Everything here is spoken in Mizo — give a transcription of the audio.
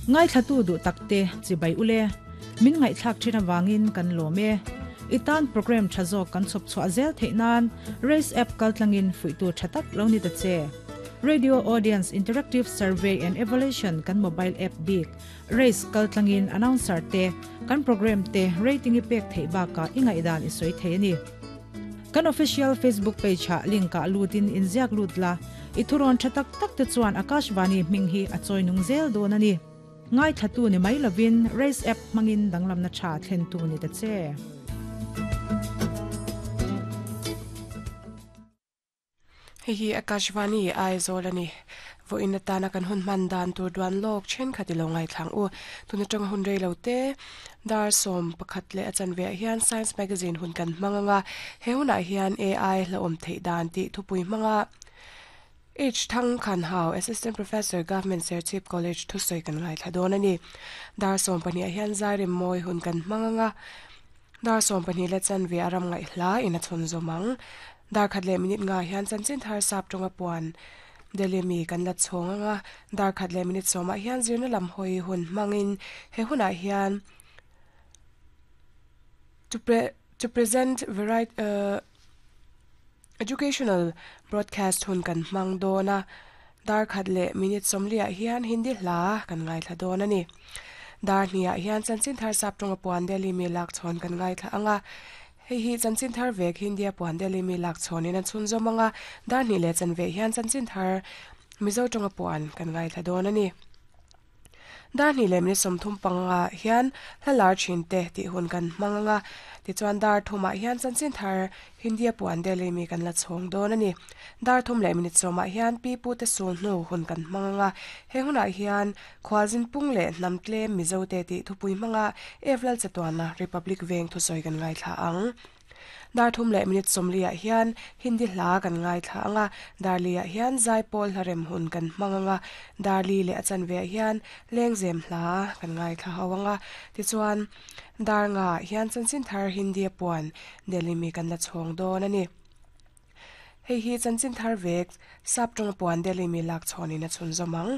Ngaithlatu duh takte chibai ule. Min ngaihthlak thin avangin kan lawm e. I tan program tha zawk kan chhawp chhuah zel theih nan Race app kaltlangin fuihtu tha tak lo ni ta che. Radio Audience Interactive Survey and Evaluation kan mobile app bik Race kaltlangin announcer te, kan program te rating i pek theih bakah i ngaihdan i sawi thei a ni. Kan official Facebook page ah link ah lutin inziak lut la, i thurawn tha tak tak te chuan Akashvani hming hi a chawi nung zel dawn a ni. Ngaithlatu ni mai lovin Race app hmangin danglamna tha thlentu ni ta che. Hei hi Akashvani Aizawl a ni. Vawiin atana kan hun hman dan tur duan lawk thenkhat i lo ngaithlang u. Tun atanga hun rei lo te dar 11 leh a chanve ah hian Science Magazine hun kan hmang anga he hunah hian AI hlauhawm theih dan tih thupui hmanga H Thang Khan Hau, Assistant Professor, Government Serchhip College thusawi kan ngaithla dawn a ni. Dar 12 ah hian Zairem mawi hun kan hmang anga Dar 12 leh chanve a ram ngaih hla in a chhun zawm ang. Dar khat leh minute nga hian chanchin thar sap tawnga puan Delhi mi kan la chhawng anga dar khat leh minute sawmah hian zirna lam hawi hun hmangin he hunah hian to pre to present variety uh Educational broadcast hun kan hmang dawn a, dar khat leh minute sawmliah hian Hindi hla kan ngaithla dawn a ni. Dar hniah hian chanchin thar sap tawnga puan Delhi mi lak chhawn kan ngaithla ang a, hei hi chanchin thar vek Hindia puan Delhi mi lak chhawnin a chhunzawm ang a, dar hnih leh chanve hian chanchin thar Mizo tawnga puan kan ngaithla dawn a ni. Dar hnih leh minute 35 hian hla lar thin te tih hun kan hmang ang a, tichuan dar thumah hian chanchin thar Hindia puan Delhi mi kan la chhawng dawn a ni. Dar thum leh minute sawmah hian pi pu te sul hnu hun kan hmang ang a, he hunah hian khualzin pung leh hnam tlem Mizo te tih thupui hmanga Evlal Chatuana Republic Veng thusawi kan ngaithla ang. Dar thum leh minute 40 ah hian Hindi hla kan ngaithla ang a, dar li ah hian Zaipawl hla rem hun kan hmang ang a, dar li leh a chanve ah hian Lengzem hla kan ngaithla ho ang a, tichuan dar nga ah hian chanchin thar Hindi a puan Delhi mi kan la chhawng dawn a ni. Hei hi chanchin thar vek sap tawng a puan Delhi mi lak chhawnin a chhunzawm ang.